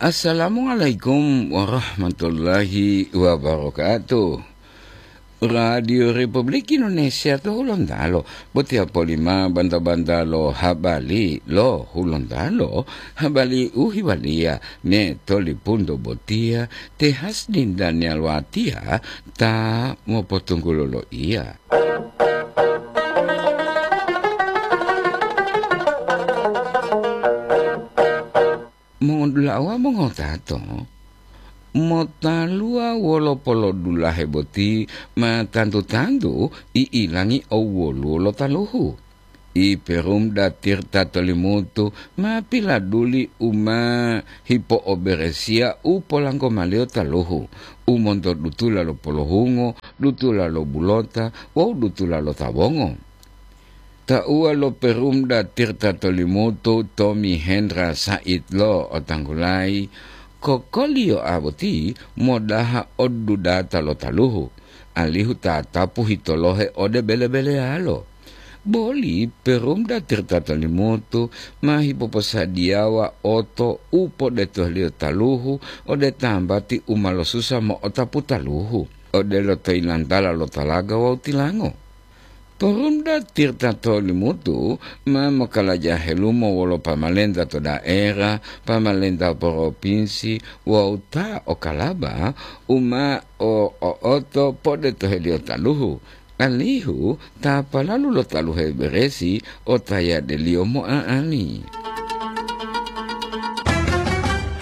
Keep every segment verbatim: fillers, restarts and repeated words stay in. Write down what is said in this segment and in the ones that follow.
Assalamualaikum warahmatullahi wabarakatuh. Radio Republik Indonesia to Hulontalo, botiya polima banta-banta lo habari lo Hulontalo, habari u hiwaliya me tolipunto botiya te Hasdin Daniel Watiya ta mopotunggulo lo iya. Mongodula'a wawu mongotato, motaluwa wolo polodulahe boti ma tantu-tantu i'ilangi owwoluwo lo taluhu. I Perumda Tirta Tolimutu ma piladuli u ma hipo'oberesiya u polanggomaliyo taluhu, u monto dutula lo polohungo, dutula lo bulota wawu dutula lo tawongo. Tauwa lo Perumda Tirta Tolimutu, Tommy Hendra Said lo otanggulayi, kokoliyoa boti modaha odudata lo taluhu, alihu tatapu hitolohe ode bele-beleyalo. Boli Perumda Tirta Tolimutu ma hipoposadiyawa oto u podetoheliyo taluhu ode tambati u ma losusa mo'otapu taluhu, odelo to yilantala lo talaga wawu tilango. Porumda Tirta Tolimutu ma mokalaja helumo wolo pamalenta to daera, pamalenta poropinsi wawu ta o kalaba u ma o-, o'oto podetoheliyo taluhu, alihu ta palalu lo taluhe beresi otayadeliyo mo'a'ani.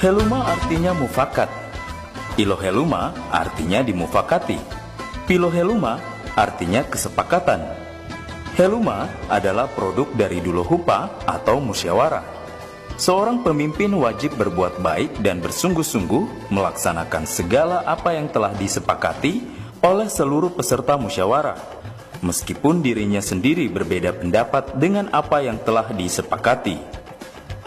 Heluma artinya mufakat. Iloheluma artinya dimufakati. Piloheluma artinya kesepakatan. Heluma adalah produk dari dulohupa atau musyawarah. Seorang pemimpin wajib berbuat baik dan bersungguh-sungguh melaksanakan segala apa yang telah disepakati oleh seluruh peserta musyawarah, meskipun dirinya sendiri berbeda pendapat dengan apa yang telah disepakati.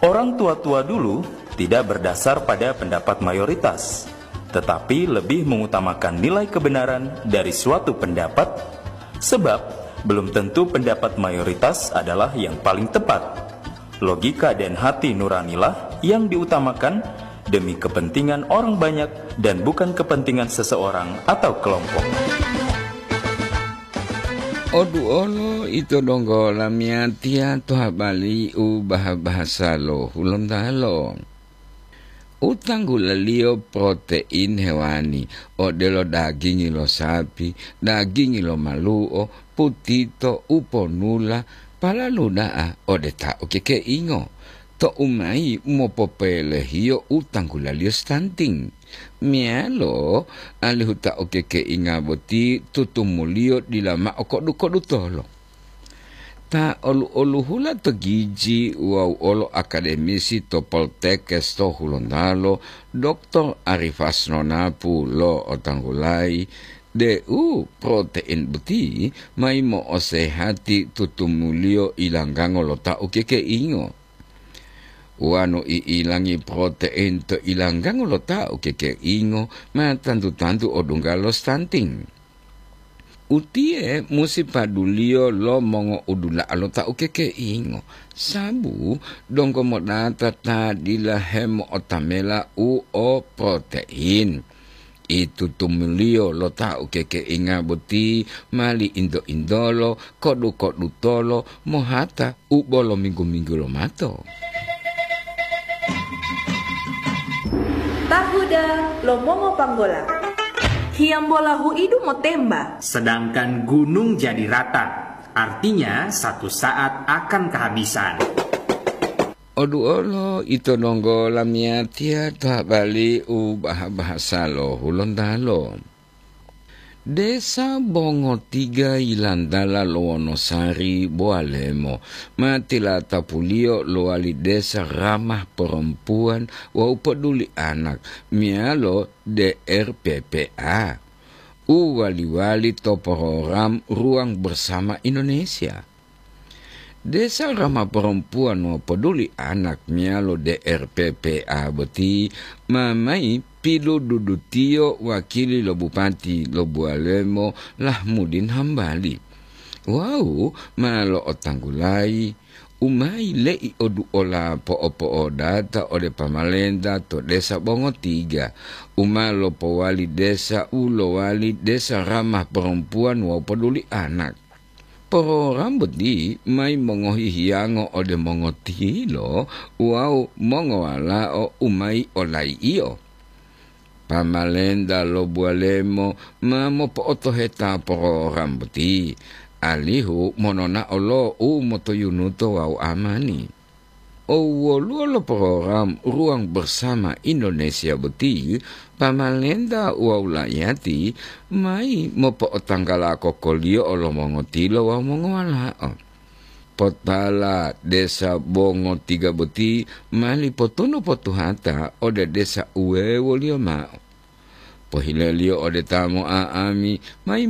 Orang tua-tua dulu tidak berdasar pada pendapat mayoritas, tetapi lebih mengutamakan nilai kebenaran dari suatu pendapat, sebab belum tentu pendapat mayoritas adalah yang paling tepat. Logika dan hati nuranilah yang diutamakan demi kepentingan orang banyak dan bukan kepentingan seseorang atau kelompok. Oduolo ito donggo lamiyatiya to habari u baha-bahasa lo Hulontalo. U tanggulaliyo protein hewani, odelo dagingi lo sapi, dagingi lo malu'o, putito, uponula, palalu da'a ode ta ukekeingo. To umayi mopopelehiyo u tanggulaliyo stunting. Meyalo alihu ta ukekeinga boti tutumuliyo dila ma'o kodu-kodutolo. Ta olu-oluhula to giji wawu olo akademisi to Poltekkes to Hulontalo, Doktor Arifas Nonapu lo'otanggulayi deu protein boti mayi mo'osehati tutumuliyo ilanggango lo ta ukekeingo. Wonu i'ilangi protein to ilanggango lo ta ukekeingo, ma tantu-tantu odungga lo stunting. Utiye musi paduliyo lo mongo'udula'a lo ta ukekeingo, sabu donggo modata ta dila hemo'otamela u o protein. Itutumuliyo lo ta ukekeinga boti mali into-intolo, kodu-kodutolo, mohata u bolo minggu-minggu lomato. Tahuda lo mongopanggola. Hiyambola huidu motemba. Sedangkan gunung jadi rata, artinya satu saat akan kehabisan. Oduolo ito donggo lamiyatiya to habari u baha-bahasa lo Hulontalo. Desa Bongotiga yilantala lo Wonosari Bowalemo ma tilatapuliyo lowali desa ramah perempuan wawu peduli anak meyalo D R P P A u wali-wali to program Ruang Bersama Indonesia. Desa Rama Perempuan Mopoduli Anak meyalo D R P P A boti ma mayi pilodudutiyo wakili lo Bupati lo Buwalemo Lahmudin Hambali wawu ma lo'otanggulayi u ma yile'i oduola po'opo'odata ode pamalenta to desa Bongotiga, u ma lopowali desa u lowali desa ramah perempuan wawu poduli anak. Porogram boti mayi mongohi hiyango ode mongotilo wawu mongowalao u mayi olai'iyo. Pamalenta lo Buwalemo ma mopo'otoheta porogram boti, alihu mononao lo u motoyunuto wawu amani. O woluwo lo porogram Ruang Bersama Indonesia boti, pamalenta wawu la'iyati mayi mopo'otanggala kokoliyo'o lo mongotilo wawu mongowalao. Potala desa Bongotiga boti mali potunu potuhata ode desa uwewoliyo mao. Pohileliyo ode ta mo'a'ami, mayi